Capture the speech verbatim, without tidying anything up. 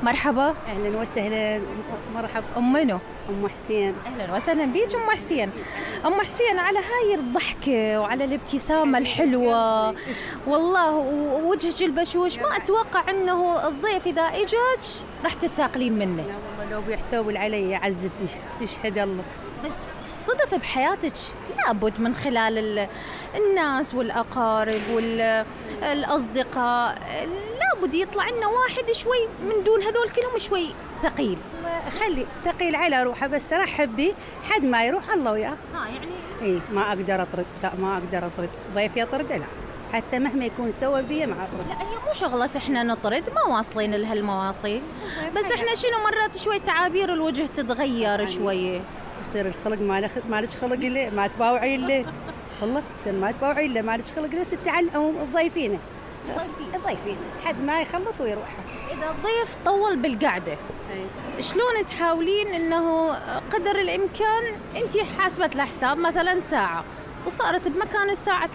مرحبا. اهلا وسهلا. مرحبا. ام منو؟ ام حسين. اهلا وسهلا بيك ام حسين. ام حسين على هاي الضحكه وعلى الابتسامه الحلوه والله ووجهك البشوش، ما اتوقع انه الضيف اذا اجاك راح تثاقلين منه. لا والله لو بيحتوي علي يعذبني، يشهد الله. بس صدف بحياتك لابد من خلال الناس والاقارب والاصدقاء لابد يطلع لنا واحد شوي من دون هذول كلهم شوي ثقيل. خلي ثقيل على روحه بس رحب بي، حد ما يروح الله وياه. ها يعني اي ما اقدر اطرد، لا ما اقدر اطرد ضيف يطرده، لا حتى مهما يكون سوى بي ما اطرد. لا هي مو شغله احنا نطرد، ما واصلين لهالمواصيل، بس احنا شنو مرات شوي تعابير الوجه تتغير شويه، يصير الخلق ما مالك خلق له، ما تباوعي له والله، يصير ما تباوعي له، مالك خلق له. ست تعلم الضيفين الضيفين حد ما يخلص ويروح. اذا الضيف طول بالقعده أي. شلون تحاولين انه قدر الامكان انت حاسبه له حساب مثلا ساعه وصارت بمكان الساعه